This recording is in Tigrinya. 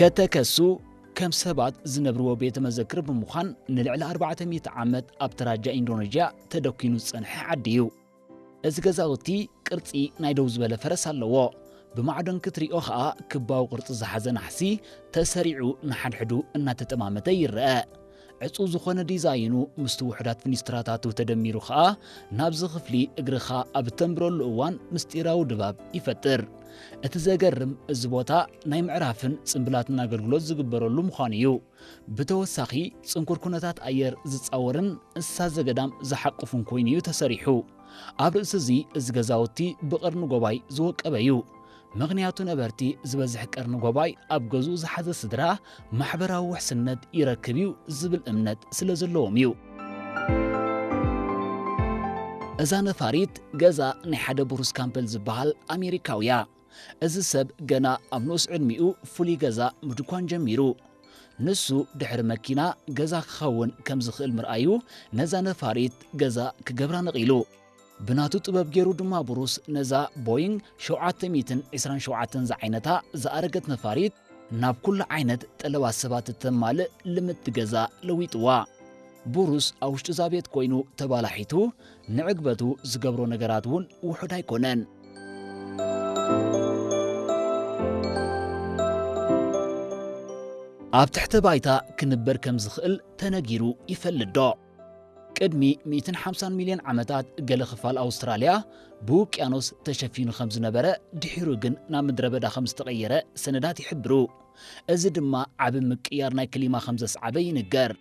ከተከሱ ከም ሰባት ዝነብርዎ ቤተ መዘክር ብምዃን ንልዕሊ ኣርባዕተ ሚእቲ ዓመት ኣብ ተራጃ ኢንዶኔዥያ ተደኪኑ ዝጸንሐ ዓዲ እዩ። እዚ ገዛውቲ ቅርጺ ናይ ደው ዝበለ ፈረስ ኣለዎ። ብማዕዶን ክትሪኦ ኸኣ ክባዊ ቅርጺ ዝሓዘ ናሕሲ ተሰሪዑ ንሓድሕዱ እናተጠማመተ ይረአ። ዕጹው ዝኾነ ዲዛይኑ ምስቲ ውሑዳት ፍኒስትራታቱ ተደሚሩ ኸኣ ናብዚ ክፍሊ እግርኻ ኣብ እተንብረሉ እዋን ምስጢራዊ ድባብ ይፈጥር። እቲ ዘገርም እዚ ቦታ ናይ ምዕራፍን ጽምብላትን ኣገልግሎት ዝግበረሉ ምዃኑ እዩ። ብተወሳኺ ጽንኩር ኩነታት ኣየር ዝጻወርን እንስሳ ዘገዳም ዝሓቁፍን ኮይኑ እዩ ተሰሪሑ። ኣብ ርእሲ እዚ እዚ ገዛውቲ ብቐርኒ ጎባይ ዝወቀበ እዩ። ምኽንያቱ ነበርቲ ዝበዝሕ ቀርኒ ጎባይ ኣብ ገዝኡ ዝሓዘ ስድራ ማሕበራዊ ውሕስነት ይረክብ እዩ ዝብል እምነት ስለ ዘለዎም እዩ። እዛ ነፋሪት ገዛ ናይ ሓደ ብሩስ ካምፐል ዝበሃል ኣሜሪካውያ። እዚ ሰብ ገና ኣብ ንኡስ ዕድሚኡ ፍሉይ ገዛ ምድኳን ጀሚሩ። ንሱ ድሕሪ መኪና ገዛ ክኸውን ከም ዝኽእል ምርኣዩ ነዛ ነፋሪት ገዛ ክገብራ ነቒሉ። ብናቱ ጥበብ ገይሩ ድማ ብሩስ ነዛ ቦይንግ ሸውዓተ ሚእትን ዕስራን ሸውዓተን ዝዓይነታ ዝኣረገት ነፋሪት ናብ ኩሉ ዓይነት ጠለባት ሰባት እተማልእ ልምድቲ ገዛ ለዊጥዋ። ብሩስ ኣብ ውሽጢ እዛ ቤት ኮይኑ ተባላሒቱ ንዕግበቱ ዝገብሮ ነገራት እውን ውሑድ ኣይኮነን። ኣብ ትሕተ ባይታ ክንበር ከም ዝኽእል ተነጊሩ ይፈልጥ ዶ? ቅድሚ ሚእትን ሓምሳን ሚልዮን ዓመታት ገለ ክፋል ኣውስትራልያ ብውቅያኖስ ተሸፊኑ ከም ዝነበረ፣ ድሒሩ ግን ናብ ምድረ በዳ ከም ዝተቐየረ ሰነዳት ይሕብሩ። እዚ ድማ ዓቢ ምቅያር ናይ ክሊማ ከም ዘስዓበ ይንገር።